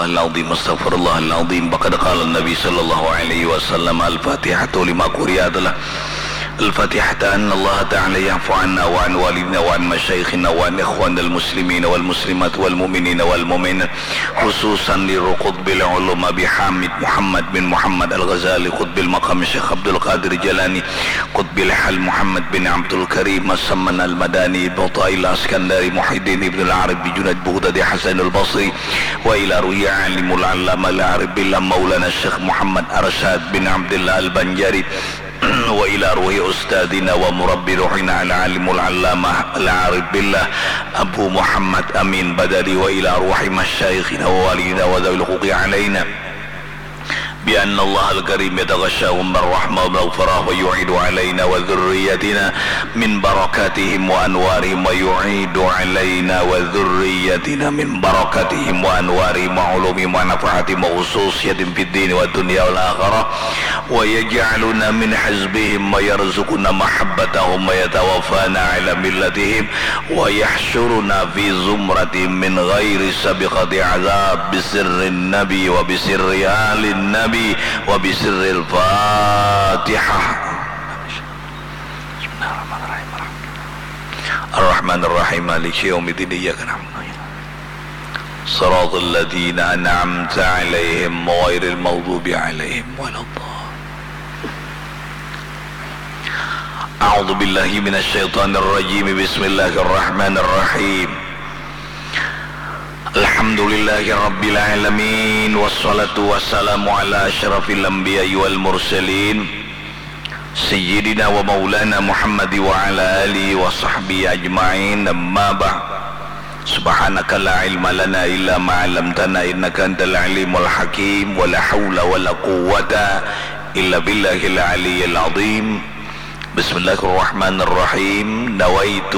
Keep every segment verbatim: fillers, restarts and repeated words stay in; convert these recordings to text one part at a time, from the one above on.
العظيم، أستغفر الله العظيم. فقد قال النبي صلى الله عليه وسلم: الفاتحة لما قرئت له. الفاتحة أن الله تعالى يعفو عنا وعن والدينا وعن مشايخنا وعن إخواننا المسلمين والمسلمات والمؤمنين والمؤمنات، خصوصا لقطب العلوم أبي حامد محمد بن محمد الغزالي قطب المقام الشيخ عبد القادر الجيلاني قطب الحال محمد بن عبد الكريم السمن المدني بطائي الإسكندري محي الدين ابن العربي جنيد بغدادي حسن البصري وإلى روح عالم العلامة العارف بالله مولانا الشيخ محمد أرشاد بن عبد الله البنجاري وإلى روح أستاذنا ومربي روحنا العالم العلامة العارف بالله أبو محمد أمين بدوي وإلى روح مشايخنا ووالدينا وذوي الحقوق علينا بأن الله الكريم يتغشاهم بالرحمة والمغفرة ويعيد علينا وذريتنا من بركاتهم وأنوارهم ويعيد علينا وذريتنا من بركاتهم وأنوارهم وعلومهم ونفحاتهم وخصوصيتهم في الدين والدنيا والآخرة ويجعلنا من حزبهم ويرزقنا محبتهم ويتوفانا على ملتهم ويحشرنا في زمرتهم من غير سابقة عذاب بسر النبي وبسر آل النبي وبسر الفاتحة. بسم الله الرحمن الرحيم. الرحمن الرحيم. مالك يوم الدين. إياك نعبد وإياك نستعين. صراط الذين أنعمت عليهم غير المغضوب عليهم ولا الضالين. أعوذ بالله من الشيطان الرجيم. بسم الله الرحمن الرحيم. الحمد لله رب العالمين، والصلاة والسلام على أشرف الأنبياء والمرسلين، سيدنا ومولانا محمد وعلى آله وصحبه أجمعين. أما بعد. سبحانك لا علم لنا إلا ما علمتنا إنك أنت العليم الحكيم. ولا حول ولا قوة إلا بالله العلي العظيم. بسم الله الرحمن الرحيم. نويت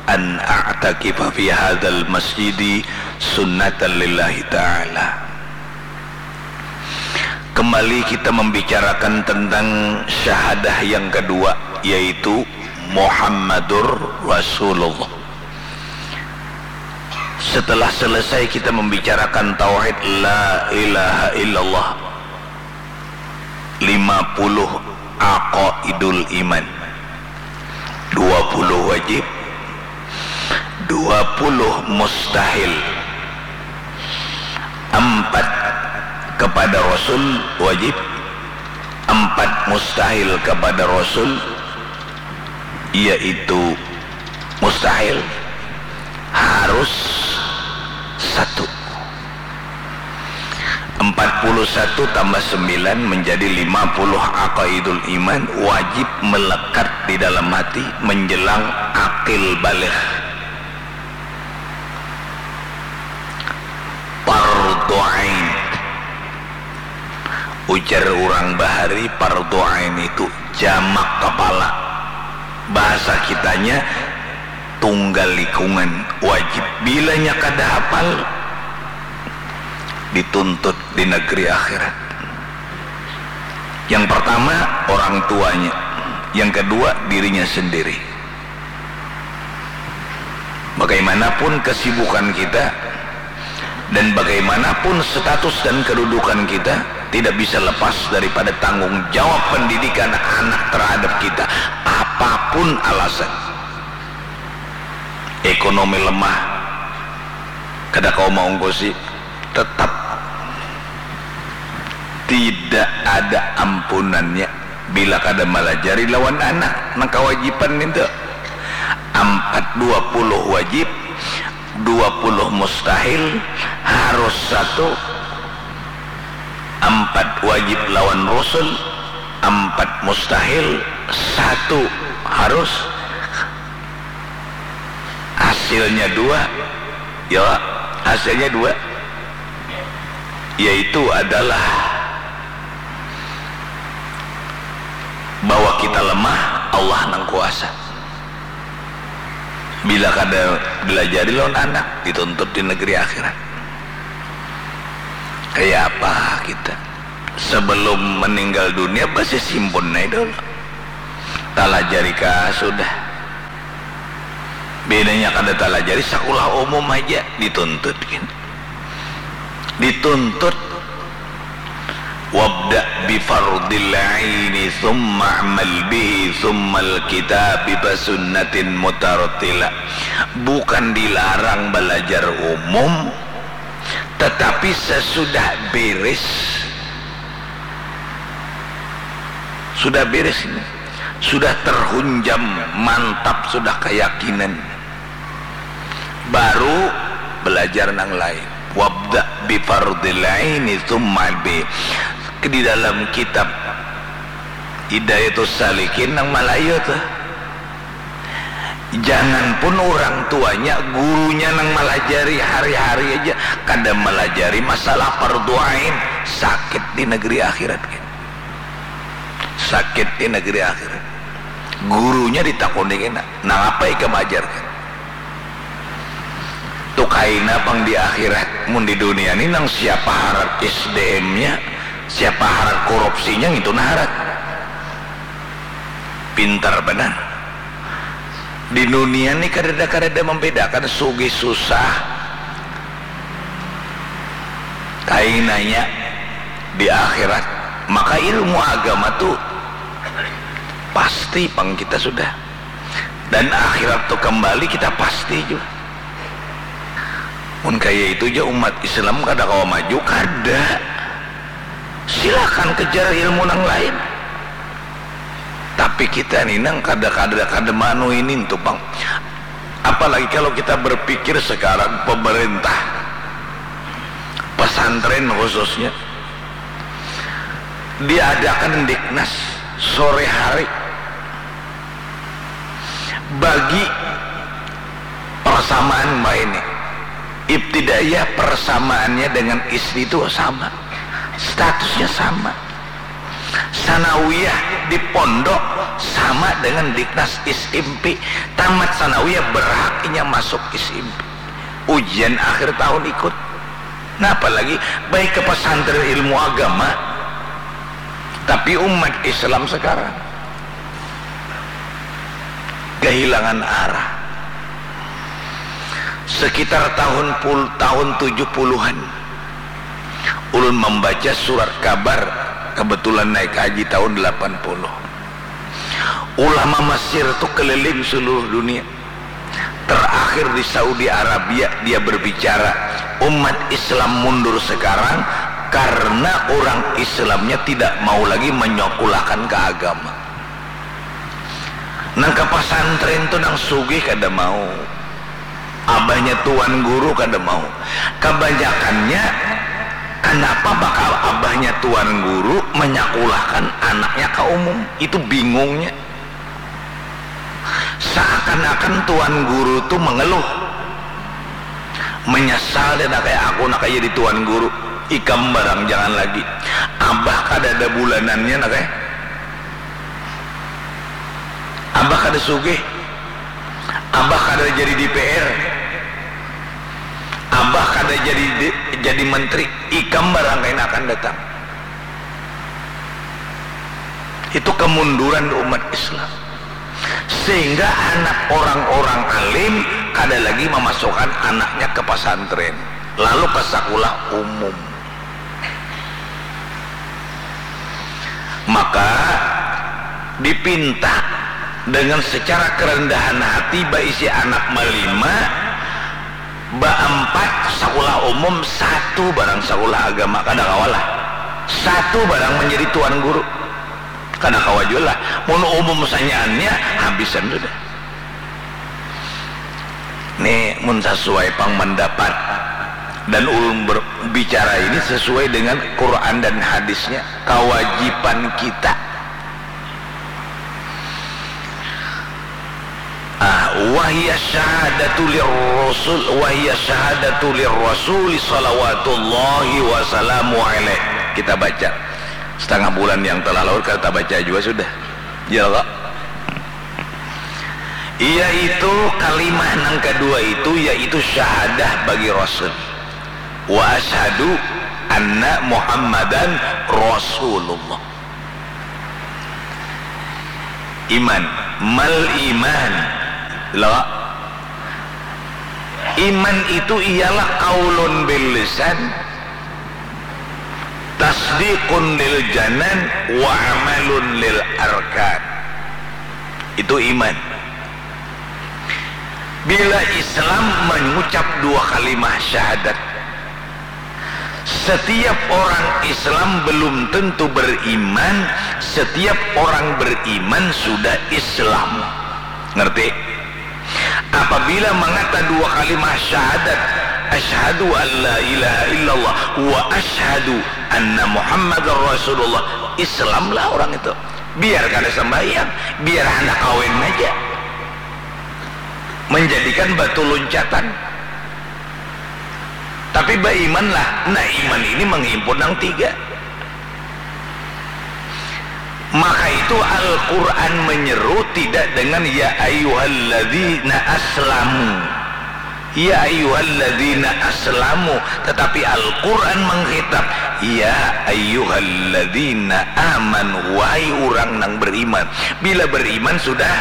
أن أعتكف في هذا المسجد سنة لله تعالى. Kembali kita membicarakan tentang syahadah yang kedua, yaitu Muhammadur Rasulullah. Setelah selesai kita membicarakan tauhid la ilaha illallah, lima puluh aqaidul iman, dua puluh wajib, dua puluh mustahil, empat kepada Rasul wajib, empat mustahil kepada Rasul, yaitu mustahil harus satu. Empat puluh satu tambah sembilan menjadi lima puluh aqaidul iman wajib melekat di dalam hati menjelang akil baligh. Pardu ain. Ujar urang bahari, pardu ain itu jamak kapala. Bahasa kitanya, tunggal likungan, wajib. Bilanya kada hapal, dituntut di negeri akhirat. Yang pertama, orang tuanya. Yang kedua, dirinya sendiri. Bagaimanapun kesibukan kita dan bagaimanapun status dan kedudukan kita, tidak bisa lepas daripada tanggung jawab pendidikan anak terhadap kita. Apapun alasan, ekonomi lemah, kada kawa maungkusi, tetap tidak ada ampunannya bila kada malajari lawan anak nang kawajiban nintu. Ampat dua puluh wajib, dua puluh mustahil, harus satu. Ampat wajib lawan rusul, ampat mustahil, satu harus. Hasilnya dua, ya, hasilnya dua, yaitu adalah bahwa kita lemah, Allah nang kuasa. Bila kada dilajari lawan anak, dituntut di negeri akhirat. Kaya apa kita? Sebelum meninggal dunia, basimpun ai dulu. Talajari kah sudah. Bedanya kada talajari, sakulah umum haja dituntut gin. Dituntut, "Wabda' bi fardil aini, tsumma a'mal bihi, tsummal kitabi basunnatin mutartila." Bukan dilarang balajar umum, tetapi sesudah beres, sudah beres ini, sudah terhunjam, mantap sudah keyakinan, baru belajar nang lain. "Wabda' bi fardil aini tsumma bi." Di dalam kitab Hidayatus Salikin nang Malayu tuh, jangan pun orang tuanya, gurunya nang malajari hari-hari aja kada malajari masalah fardu ain, sakit di negeri akhirat kan. Sakit di negeri akhirat. Gurunya ditakuni kena, "Nangapa ikam ajarkan?" Tu kaina pang di akhirat. Mun di dunia ni nang siapa harat S D M-nya, siapa harat korupsinya, ngitu nah harat. Pintar banar. Di dunia ni kadada-kadada membedakan sugih susah. Kainanya di akhirat. Maka ilmu agama tu pasti pang kita sudah. Dan akhirat tu kembali kita pasti jua. Mun kaya itu ja umat Islam kada kawa maju, kada. Silakan kejar ilmu nang lain. Tapi kita ni nang kada, kada, kada maanu ini tu pang. Apalagi kalau kita berpikir sekarang pemerintah, pesantren khususnya, diadakan diknas sore hari. Bagi persamaan baini, ibtidaiyah persamaannya dengan S D itu sama, statusnya sama. Sanawiyah di pondok sama dengan diknas S M P. Tamat sanawiyah berhak inya masuk S M P. Ujian akhir tahun ikut. Nah, apalagi baik ke pesantren ilmu agama, tapi umat Islam sekarang kehilangan arah. Sekitar tahun pul-, tahun tujuh puluhan, ulun membaca surat kabar, kebetulan naik haji tahun delapan puluh. Ulama Mesir tu keliling seluruh dunia. Terakhir di Saudi Arabia, dia berbicara, umat Islam mundur sekarang karena orang Islamnya tidak mau lagi menyekolahkan ke agama. Nang ke pesantren tu nang sugih kada mau. Abahnya tuan guru kada mau. Kebanyakannya, kenapa bakal abahnya tuan guru menyekolahkan anaknya ke umum? Itu bingungnya. Seakan-akan tuan guru tu mengeluh. Menyesal dia, "Nah, kayak aku, nah, kayak jadi tuan guru. Ikam barang jangan lagi. Abah kada ada bulanannya, nah, kayak. Abah kada sugih. Abah kada jadi D P R. Abah kada jadi, jadi menteri. Ikam barang kaina akan datang." Itu kemunduran umat Islam. Sehingga anak orang-orang alim kada lagi memasukkan anaknya ke pesantren, lalu ke sekolah umum. Maka dipinta dengan secara kerendahan hati baisi anak malima, baampat sekolah umum, satu barang sekolah agama, kada kawa lah. Satu barang menjadi tuan guru. Kada kawa jua lah. Mun umum sanyaannya, habisan sudah. Nih, mun sesuai pang mendapat dan ulun berbicara ini sesuai dengan Quran dan hadisnya, kewajiban kita. Ah, wahya syahadatu lirrasul, wahya syahadatu lirrasul salawatullahi wasalamu alaih. Kita baca. Setengah bulan yang telah lalu kita baca juga sudah. Ya Allah. Yaitu kalimah nang kedua itu, yaitu syahadah bagi Rasul. "Wa asyhadu anna Muhammadan Rasulullah." Iman, mal iman. Lo. Iman itu ialah qaulun bil lisan, Tasdiqun lil janan wa amalun lil arkan. Itu iman. Bila Islam mengucap dua kalimah syahadat, setiap orang Islam belum tentu beriman, setiap orang beriman sudah Islam. Ngerti? Apabila mangata dua kalimah syahadat, asyhadu an la ilaha illallah wa asyhadu anna Muhammadar Rasulullah, Islamlah orang itu. Biar kada sambahyang, biar handak kawin aja. Menjadikan batu loncatan. Tapi baimanlah. Nah, iman ini menghimpun nang tiga. Maka itu Al-Quran menyeru tidak dengan ya ayyuhalladzina aslamu, ya ayyuhalladzina aslamu, tetapi Al-Quran mengkhitab ya ayyuhalladzina amanu, wahai urang nang beriman. Bila beriman sudah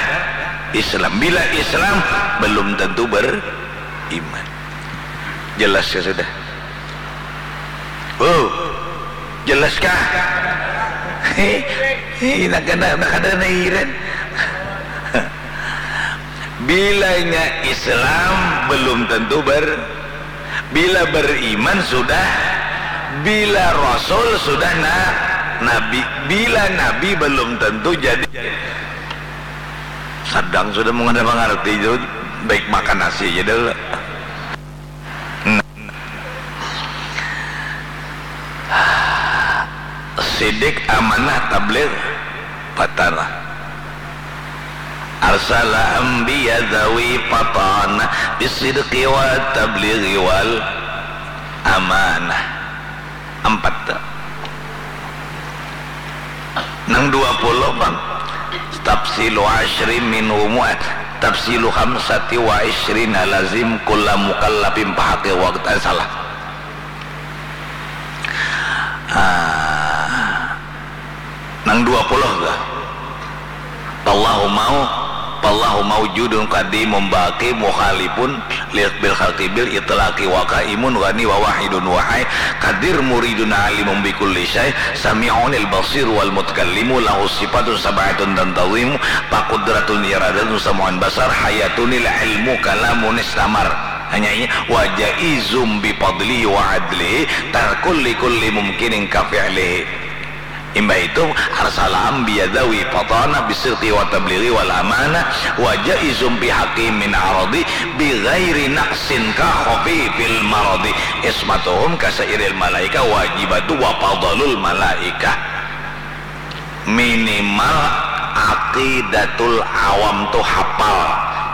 Islam, bila Islam belum tentu beriman. Jelas ya sudah. Oh, jelas kah? Hei, hei, nak kena, nak kada kena hiran. Bilanya Islam belum tentu ber, bila beriman sudah, bila Rasul sudah na, Nabi, bila Nabi belum tentu jadi. Sadang sudah mengada mengerti itu, baik makan nasi aja dulu. Sidik amanah tabligh fatana. Arsala anbiya zawi fatana bisidqi wa tablighi wal amanah. Ampat tu. Nang dua puluh pang. Tafsilu asyri minhumu, tafsilu khamsati wa isyrina lazim kulla mukallafin pahaqi waqt. Eh, salah. Ah, nang dua puluh tu. Pallahu mau, pallahu maujudun qadimun baqi mukhalifun li bil khalqi bil itlaqi wa qaimun ghani wa wahidun wa hai qadir muridun alimun bi kulli syai sami'unil basir wal mutakallimu lahu sifatun sab'atun tantazimu fa qudratun iradatun sam'un basar hayatunil ilmu kalamun istamar. Hanya ini wa jaizum bi fadli wa adli tarkul li kulli mumkinin ka fi'lihi. Imbah itu, arsala anbiya dzawi fatana bisidqi wa tablighi wal amanah wa jaizum fi haqqihim min aradi bi ghairi naqsin ka khafifil maradi ismatuhum ka sairil malaika wajibatu wa fadlul malaika. Minimal aqidatul awam tu hapal.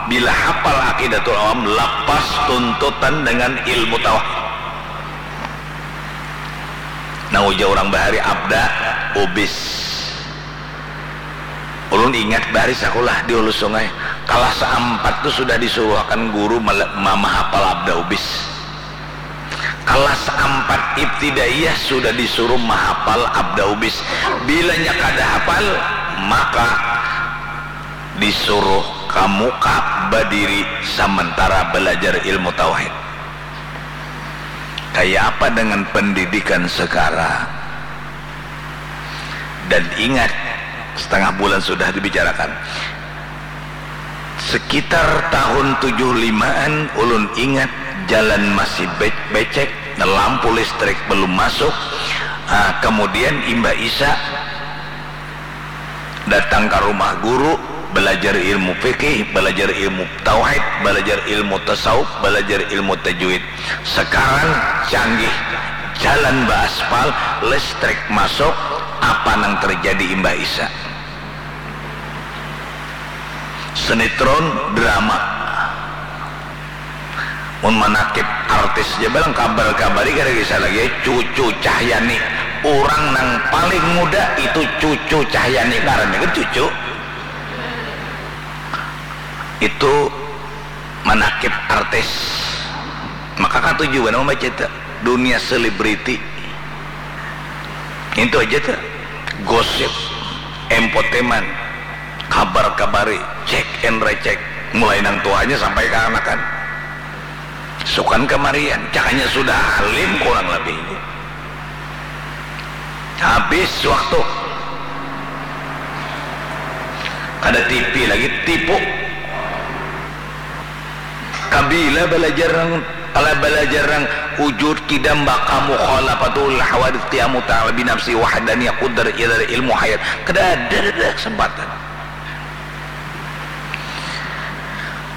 Bila hapal aqidatul awam, lapas tuntutan dengan ilmu tauhid. Nang ujar urang bahari abda ubis. Ulun ingat bahari sakulah di hulu sungai, kalas ampat tu sudah disuruhakan guru mala-, mamahapal abda ubis. Kalas ampat ibtidaiyah sudah disuruh mahapal abda ubis. Bilanya kada hapal, maka disuruh ka muka badiri samantara balajar ilmu tauhid. Kaya apa dengan pendidikan sekarang? Dan ingat, setengah bulan sudah dibicarakan. Sekitar tahun tujuh limaan, ulun ingat jalan masih be-, becek, lampu listrik belum masuk. Ah, kemudian imbah Isya, datang ka rumah guru, balajar ilmu fikih, balajar ilmu tauhid, balajar ilmu tasawuf, balajar ilmu tajwid. Sekarang canggih, jalan baaspal, listrik masuk, apa nang terjadi imbah Isya? Sinetron, drama. Mun manakib artis ja balang kabar-kabari kada kisah lagi, cucu Cahyani. Urang nang paling muda itu cucu Cahyani, ngarannya kan cucu. Itu manakib artis. Maka katuju banar mambaca tu. Dunia selebriti. Itu aja tu. Gosip, entertainment, kabar-kabari, cek and recheck. Mulai nang tuanya sampai kaanakan. Sukan kamarian, cakanya sudah alim kurang lebih. Habis waktu. Kada T V lagi, tipu. Kabila balajar nang, kala balajar nang wujud, qidam, baqa, mukhalafatul hawadits, qiyamu ta'ala binafsi, wahdaniyah, qudrat, iradh, ilmu, hayat. Kada ada, kada ada kesempatan.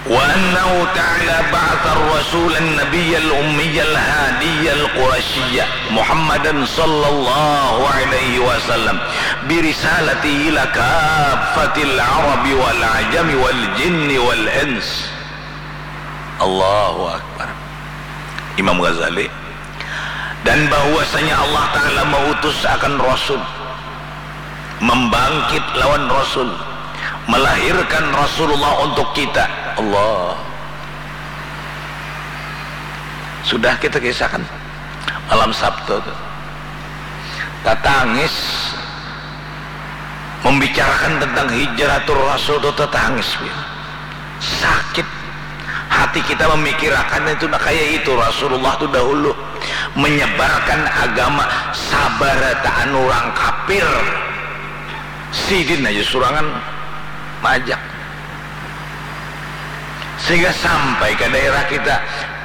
Wa annahu ta'ala ba'atha ar-rasulan nabiyyal ummiyal hadiyal qurasyiyya Muhammadan sallallahu alaihi wasallam birisalati ila kaffatil arabi wal ajami wal jinni wal ins. Allahu Akbar. Imam Ghazali. Dan bahwasanya Allah Ta'ala mautus akan Rasul, membangkit lawan Rasul, melahirkan Rasulullah untuk kita. Allah. Sudah kita kisahkan malam Sabtu tu. Tatangis membicarakan tentang hijratul Rasul tu, tatangis. Sakit hati kita memikirakan itu. Nah, kaya itu Rasulullah tu dahulu menyebarkan agama, sabarataan urang kapir, sidin aja surangan maajak, sehingga sampai ka daerah kita.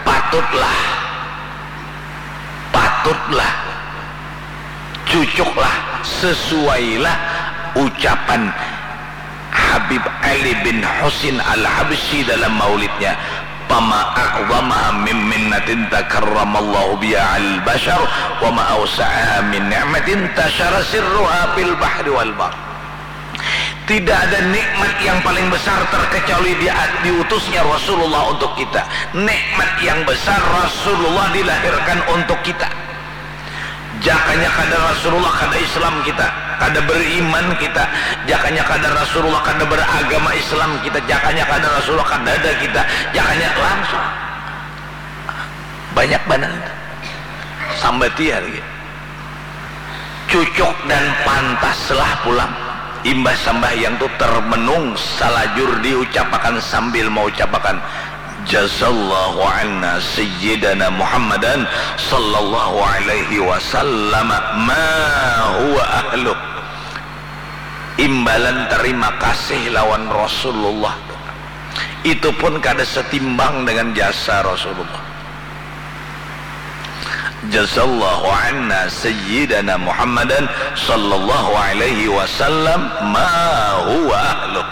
Patutlah, patutlah, cucuklah, sesuailah ucapan Habib Ali bin Husin Al-Habsyi dalam maulidnya, "Fama a'zamaha min minnatin takarramallahu biha al-bashar, wa ma awsa'aha min ni'matin tashara sirruha fil bahri wal bahr." Tidak ada nikmat yang paling besar terkecuali dia, diutusnya Rasulullah untuk kita. Nikmat yang besar, Rasulullah dilahirkan untuk kita. Jakanya kada Rasulullah, kada Islam kita, kada beriman kita. Jakanya kada Rasulullah, kada beragama Islam kita. Jakanya kada Rasulullah, kada ada kita. Jakanya langsung banyak banar itu. Sambati ya lagi. Cucuk dan pantaslah pulang. Imbah sambahyang tu termenung salajur diucapakan sambil maucapakan, "Jazallahu anna sayyidana Muhammadan sallallahu alaihi wasallam ma huwa ahluh." Imbalan terima kasih lawan Rasulullah tu, itu pun kada setimbang dengan jasa Rasulullah. "Jazallahu anna sayyidana Muhammadan sallallahu alaihi wasallam ma huwa ahluh."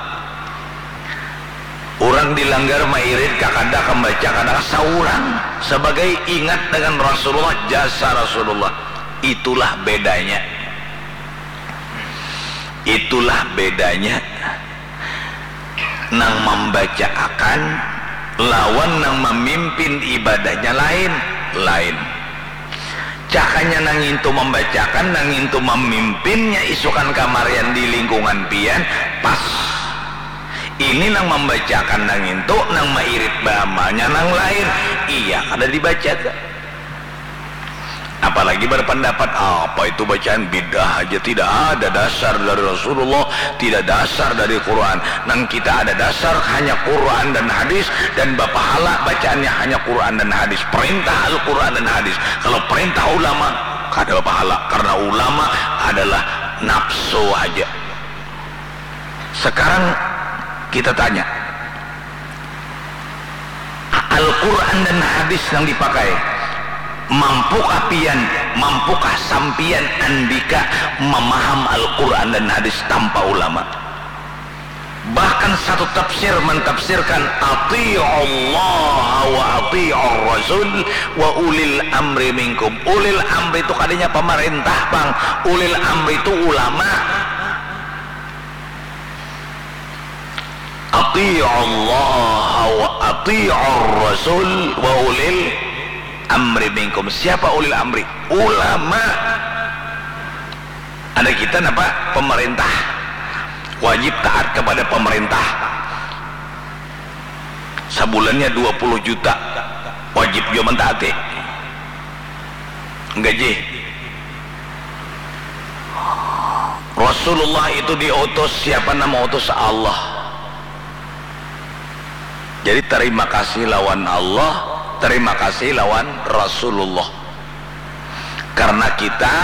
Urang di langgar mairit kakada, kambaca kada, saurang sabagai ingat dengan Rasulullah, jasa Rasulullah. Itulah bedanya. Itulah bedanya nang mambacaakan lawan nang mamimpin ibadahnya lain, lain. Cakanya nang ngintu mambacakan, nang ngintu mamimpinnya isukan kamarian di lingkungan pian, pas. Ini nang mambacakan nang ngintu, nang mairit baamalnya nang lain. Iya, kada dibaca tu. Apalagi berpendapat, "Apa itu bacaan bid'ah aja, tidak ada dasar dari Rasulullah, tidak dasar dari Quran." Nang kita ada dasar hanya Quran dan hadis, dan bapahala bacaannya hanya Quran dan hadis. Perintah Al-Quran dan hadis. Kalau perintah ulama, kada bapahala, karena ulama adalah nafsu aja. Sekarang kita tanya, Al-Quran dan hadis nang dipakai, mampukah pian, mampukah sampian andika mamaham Al-Quran dan hadis tanpa ulama? Bahkan satu tafsir mentafsirkan, "Ati'ullaha wa ati'ur rasul wa ulil amri minkum." Ulil amri itu kadanya pamarintah pang, ulil amri itu ulama. "Ati'ullaha wa ati'ur rasul wa ulil amri minkum." Siapa ulil amri? Ulama. Ada kita napa? Pemerintah. Wajib taat kepada pemerintah. Sabulannya dua puluh juta. Wajib jua mentaati. Gaji. Rasulullah itu diutus, siapa nang mautus? Allah. Jadi, terima kasih lawan Allah, terima kasih lawan Rasulullah. Karena kita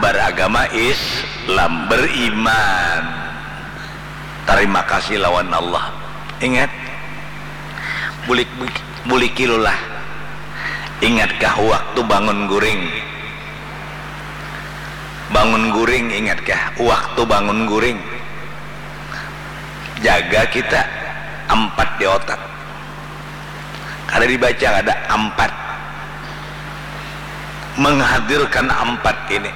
Baragama Islam, beriman. Tarima kasih lawan Allah. Ingat, bulik, bulikilulah. Ingatkah waktu bangun guring? Bangun guring, ingatkah waktu bangun guring? Jaga kita ampat di otak. Kada dibaca, kada ampat. Menghadirkan ampat ini.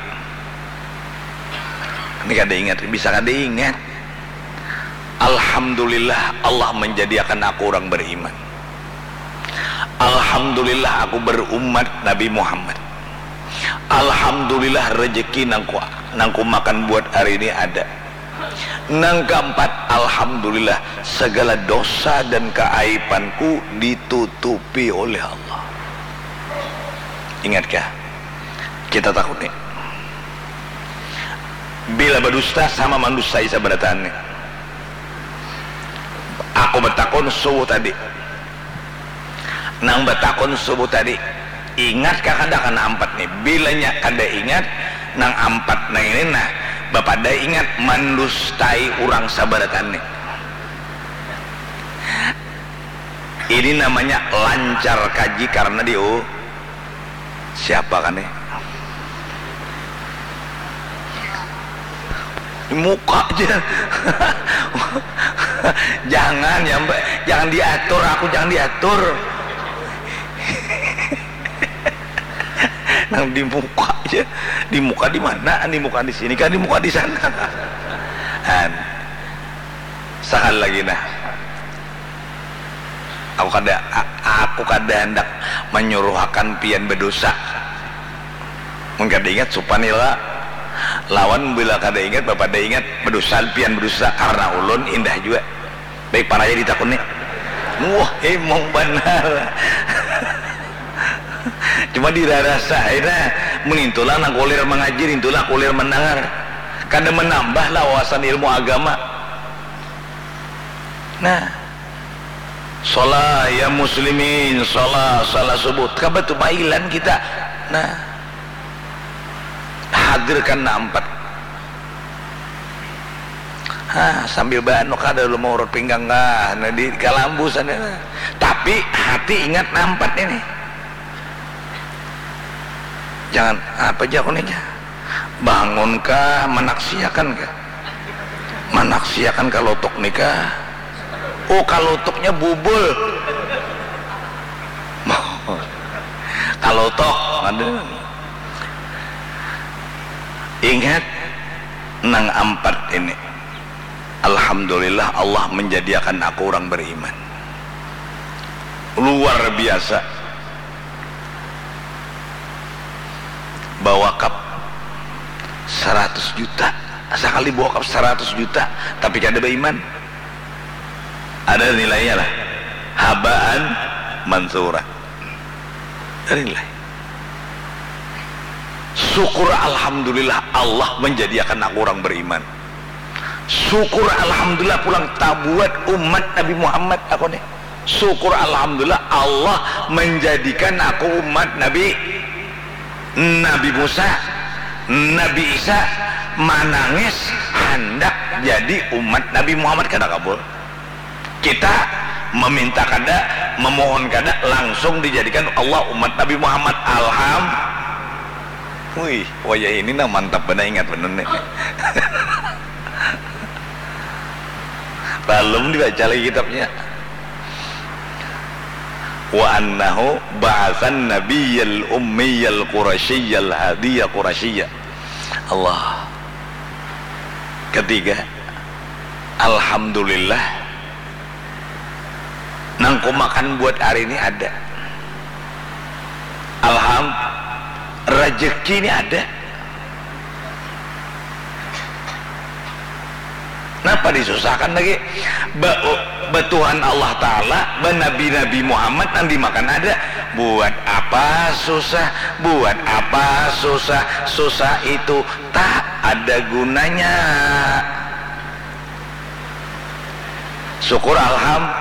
Ini kada ingat, bisa kada ingat. Alhamdulillah, Allah menjadikan aku orang beriman. Alhamdulillah, aku berumat Nabi Muhammad. Alhamdulillah, rezeki nangku, nangku makan buat hari ini ada. Nang keempat, alhamdulillah, segala dosa dan keaibanku ditutupi oleh Allah. Ingatkah? Kita takuni. Bila badusta sama mandustai sabarataan ni. Aku batakun subuh tadi. Nang batakun subuh tadi, ingat kah kada kana ampat ni? Bilanya kada ingat, nang ampat nang ini nah, bapada ingat mandustai urang sabaratan ni. Ini namanya lancar kaji karena di, oh, siapa kan ni? Muka aja. Jangan ya, Mbak. Jangan diatur, aku jangan diatur. Nang di muka aja. Di muka di mana? Di muka di sini kan, di muka di sana. An. Sekali lagi nah. Aku kada, aku kada hendak menyuruhakan pian berdosa. Mun kada ingat, supan ila lawan bila kada ingat, bapada ingat, berdosa pian berdosa karena ulun, indah jua. Baik paraya ditakuni. Wah, emang banar. Cuma dirarasa aja nah, mun intulah nang kulir mengaji, intulah kulir mendengar. Kada menambah lah wawasan ilmu agama. Nah, sholat ya muslimin, sholat, sholat subuh. Kaba tu mailan kita. Nah, hadirkan nah ampat. Ha, sambil baanu kada lu maurut pinggang kah, nah, di kalambu sana. Tapi hati ingat nah ampat ini. Jangan apa aja aku nih. Bangun kah, manaksiakan kah? Manaksiakan kalotok nikah. Oh, kalotuknya bubul. Kalotok, aduh. Ingat nang ampat ini. Alhamdulillah, Allah menjadiakan aku orang beriman. Luar biasa. Bawakap saratus juta. Sakali bawakap saratus juta, tapi kada baiman. Ada nilainya lah. Habaan mansura. Ada nilai. Syukur alhamdulillah, Allah menjadiakan aku orang beriman. Syukur alhamdulillah pulang tabuat umat Nabi Muhammad aku nih. Syukur alhamdulillah, Allah menjadikan aku umat Nabi, Nabi Musa, Nabi Isa manangis handak jadi umat Nabi Muhammad, kada kabul. Kita meminta kada, memohon kada, langsung dijadikan Allah umat Nabi Muhammad. Alham-, wih, wayah ini nah mantap benar, ingat benar nih. Belum dibaca lagi kitabnya. Wa annahu ba'atsan nabiyyal ummiyal qurasyiyal hadiya qurasyiyya. Allah. Ketiga, alhamdulillah, nang ku makan buat hari ini ada. Alham, rezeki ini ada. Napa disusahkan lagi? Ba-, ba Tuhan Allah Ta'ala, ba Nabi-Nabi Muhammad nang dimakan ada. Buat apa susah? Buat apa susah? Susah itu tak ada gunanya. Syukur alham-,